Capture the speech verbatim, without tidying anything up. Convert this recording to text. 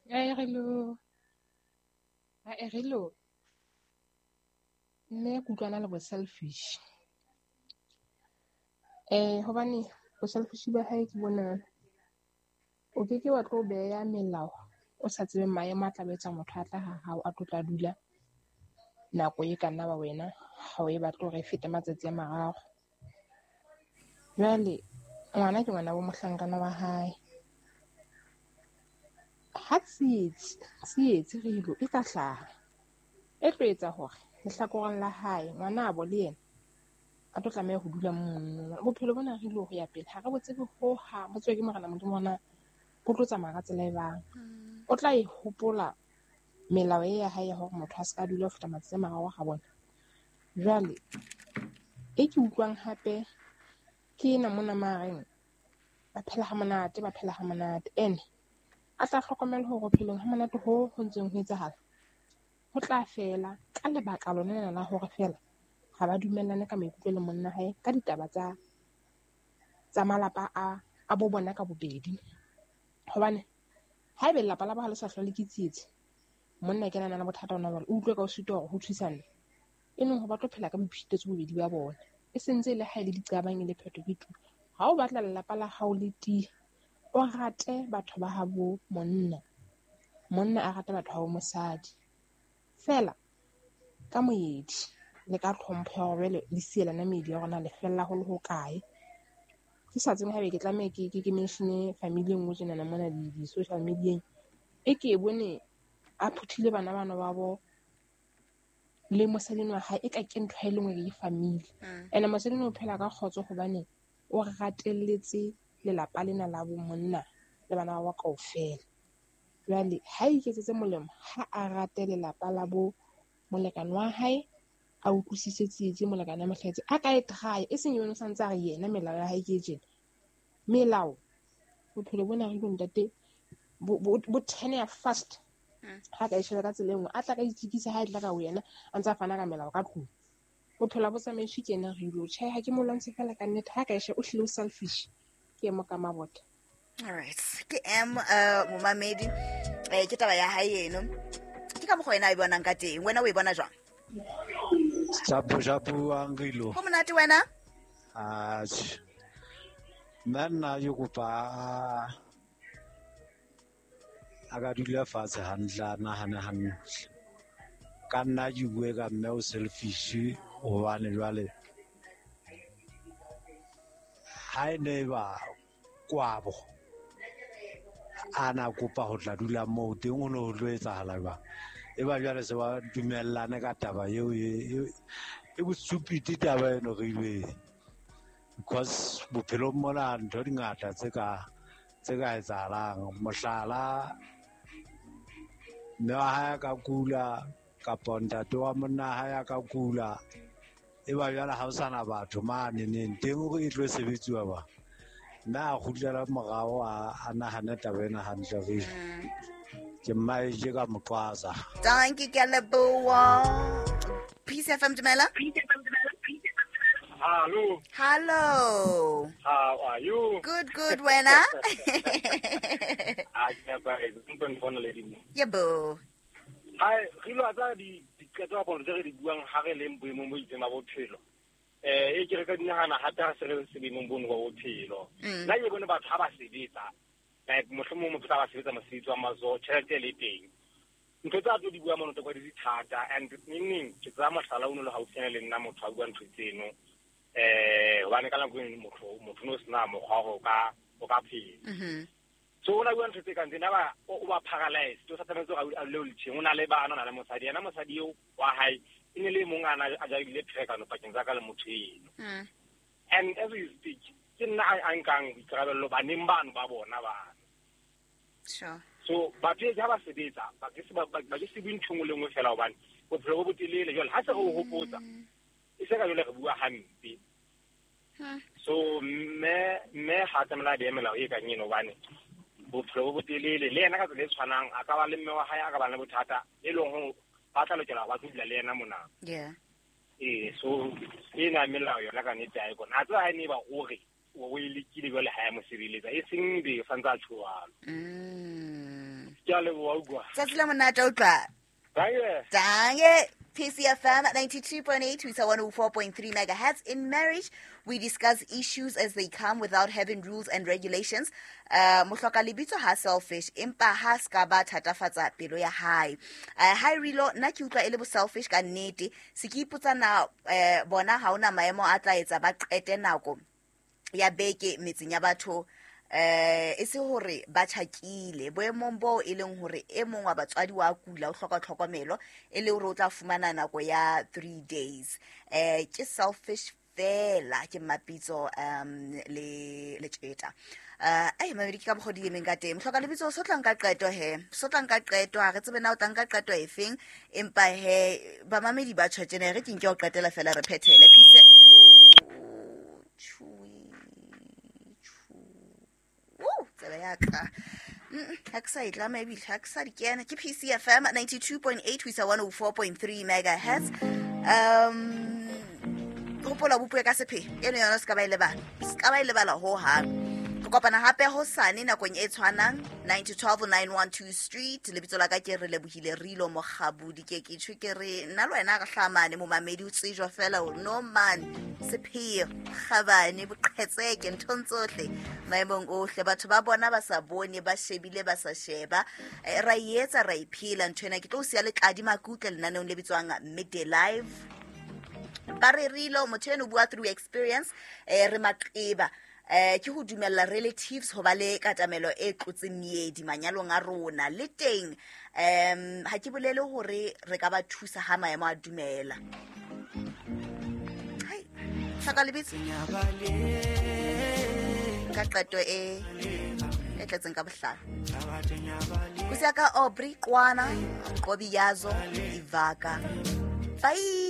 Ai hello. Ai hello. Nne ke utlwana le bo selfish. Eh hobane bo selfish ba hae ke bona o ke ke wa tlo beya melao o sa tsebe maemo a tla betsa motho a tla ha hao a tlo tla dula nako e ka nna ba wena ha o e batle hore e fete matsatsi a mararo. Jwale ngwana ke ngwana bo mohlankana wa hae. Ha tsietsi, tsietsi re ilo e ka hlaha. E tlo etsa hore lehlakoreng la hae ngwana a bo le yena a tlo tlameha ho dula mono. Bophelo bona re ilo ho ya pele ha re bo tsebe hohang, bo tswe ke Morena Modimo ona bo tlo tsamaya ka tsela e bang. O tla e hopola melao e ya hae ya hore motho a se ka dula ho feta matsatsi a mararo ha bona. Jwale e ke utlwang hape ke ena mona mareng ba phela ha monate, ba phela ha monate. Ene a tla hlokomela hore bophelong ha monate ho ho ntseng ho etsahala ho tla fela ka lebaka lona lena la hore fela ha ba dumellane ka maikutlo le monna hae ka ditaba tsa tsa malapa a a bo bona ka bobedi. Hobane haebe lelapa la ba ha le sa hlole ke tsietsi, monna ke nana le bothata ona jwale, o utlwe ka o sitwa hore ho thusane e leng ho ba tlo phela ka boiphetetso bobedi ba bona. E sentse le ha e le diqabang e le phetho ke tu. Ha o batla lelapa la hao le tiye, o rate batho ba habo monna, monna a rate batho ba bo mosadi. Fela ka moedi le ka tlhompho ya hore jwale le sielana meedi ya rona le fella ho le hokae. Ke sa tsebe haebe ke tlameha ke ke ke mention family e nngwe tjenana mona di di social media-eng. E ke e bone a phuthile bana bana ba bo le mosadi wa hae e ka ke ntho e le nngwe ke family. Ene mosadi o phela ka kgotso hobane o ratelletse lelapa lena la bo monna le bana ba kaofela. Jwale ha iketsetse molemo ha a rate lelapa la bo molekane wa hae, a utlwisise tsietsi molekane a mo hlahetse, a ka e try e seng yona o santse a re yena melao ya hae ke e tjena. Melao bophelo bona re bo ntate bo bo turn ya fast. Ha ka e sheba ka tsela e nngwe a tla ka itsikisa ha e tla ka ho yena a ntse a fana ka melao ka tlung. Bophelo bo tsamaiswe ke yena re ilo tjhe ha ke mo lwantshe fela ka nnete ha ka e sheba o hlile o selfish. Ke mo ka mabota. All right. Ke M uh momamedi eh ke taba ya hae eno. Ke ka mokgwa wena a e bonang ka teng. Wena o e bona jwang? Shapu shapu angilo. Ho monate wena? Atjhe. Nna nna ke kopa a ka dula fatshe hantle a nahane hantle. Ka nna ke bue ka mme o selfish hobane jwale ha e ne ba kwabo a na kopa ho tla dula moo teng ho ne ho tlo etsahala jwang. E ba jwale se ba dumellane ka taba eo e e bo stupid taba eno re ilwe. Because bophelong mona ntho di ngata tse ka tse ka etsahalang. Mohlala mme wa hae a ka kula kapa ntate wa monna hae a ka kula, e ba jwale ha ho sana batho mane neng teng hore e tlo sebetsiwa ba. Mme a kgutlela morao a a nahane taba ena hantle re. Ke mmae je ka moqwasa. Dankie ke a leboha. Peace F M dumela. Hello. Hello. How are you? Good, good, wena. I never even phone lady. Yebo. Hi, re lo tsa di diqeto ba tse re di buang ha re leng boemong bo itseng ba bophelo. Eh e ke re ka dinahana hape ha se re se boemong bono ba bophelo. Nna ke bone batho ha ba sebetsa, like mohlomong motho ba sebetsa mosebetsi wa matsoho, tjhelete le teng. Ntho tsa tlo di bua mono tsa di thata and neng ke tsaya mohlala o no le haufinyana le nna motho a bua ntho tseno. Eh hobane ka nako e motho motho no sena mokgwa o ka o ka phela. Mhm. So o na bua ntho tse kang tsena ba o ba paralyzed, o sa tshwanetse hore a le o letjheng, o na le bana, o na le mosadi. Yena mosadi eo wa hae e ne le mong a na a jarile pherekano pakeng tsa ka le motho eno. Mm. And as we speak, ke nna a nkang boikarabello baneng bano ba bona bana. Sure. So batho ha ba sebetsa, ba ke se ba ba ke se bue ntho nngwe le nngwe fela hobane bophelo bo botelele jwale ha se re o hopotsa e se ka jwale re bua hampe. So mme mme ha tlamela a behe melao e kang eno hobane bophelo bo botelele le yena ka tsela e tshwanang a ka ba le mme wa hae a ka ba le bothata e leng hore ba tla lokela ba tlo dula le yena mona. Yeah. Eh so ena melao yona ka nnete ha e kona. A tseba ha e ne ba o re o e lekile jwale ha ya mo sireletsa e seng be santse a tjho jwalo. Mm. Ke a leboha utlwa. Tsatsi la monate utlwa. Danke. Danke. P C F M ninety-two point eight to one oh four point three megahertz. In marriage, we discuss issues as they come without having rules and regulations. Uh, mohloka lebitso ha selfish, empa ha ska ba thatafatsa pelo ya hae. Uh, hi Rilo, nna ke utlwa e le bo selfish ka nnete. Se ke ipotsa na eh, bona ha ona maemo a tla etsa ba qete nako ya beke metseng ya batho. Eh e se hore ba tjhakile boemong bo e leng hore e mong wa batswadi wa kula o hloka tlhokomelo e le hore o tla fumana nako ya three days. Eh ke selfish fela ke Mapitso um le le tjeta. Uh ai mamedi ke ka bogodi emeng ka teng. Hloka lebitso so tla nka qeto he. So tla nka qeto ha re tsebe na o tla nka qeto efeng empa he ba mamedi ba tjhotjene re ke nke o qetela fela re phethele. Peace. Ha ke sa e tlama ebile ha ke sa di kena. Ke P C F M ninety-two point eight ho isa one oh four point three megahertz. Um hopola bopuwe ka sephe eno yona se ka ba e lebala. Se ka ba e lebala ho hang. Re kopana hape hosane nakong e tshwanang nine to twelve nine one two Street. Lebitso la ka ke re lebohile Rilo Mokgabudi. Ke ke tjho ke re nna le wena re hlamane momamedi o tsejwa fela hore no man sepheo kgabane boqhetseke nthong tsohle maemong ohle batho ba bona ba sa bone ba shebile ba sa sheba. Ra e etsa ra e phela ntho ena. Ke tlo siya letladi makutle lenaneong le bitswang Midday Live. Ba re Rilo motho eno bua through experience eh re maqeba eh ke ho dumella relatives ho ba le katamelo e tlotseng meedi manyalong a rona le teng. Um ha ke bolele hore re ka ba thusa ha maemo a dumela. Hai hlaka lebitso ka qeto e e tletseng ka bohlale. Kusiya ka Aubrey Kwana Qobi Yazo Ivaka. Bye.